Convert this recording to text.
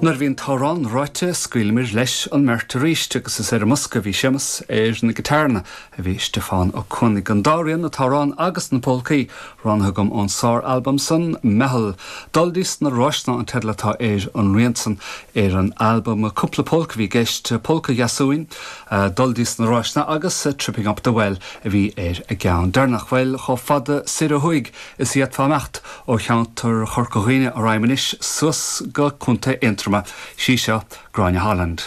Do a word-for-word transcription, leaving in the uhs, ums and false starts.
Nuair a bhí an t-amhrán ráite scaoilimid leis an mbeirt arís agus is ar an mbosca bhí Séamus ar na giotáranna a bhí Stiofán Ó Cuanaigh an dá rian an t-amhrán agus na polcaí roghnaithe agam ón sár-albam san Meitheal. Dul dtí na Ráiseanna an teideal atá ar an rian san ar an albam cúpla polca bhí i gceist Polca Dheasúin, Dul dtí na Ráiseanna agus Tripping Up the Well a bhí ar an gceann deireanach bhuel chomh fada soir ó thuaidh is a d'fhéadfá imeacht ó cheantar Chorca Dhuibhne arís suas go Contae Aontroma sí seo Gráinne Holland.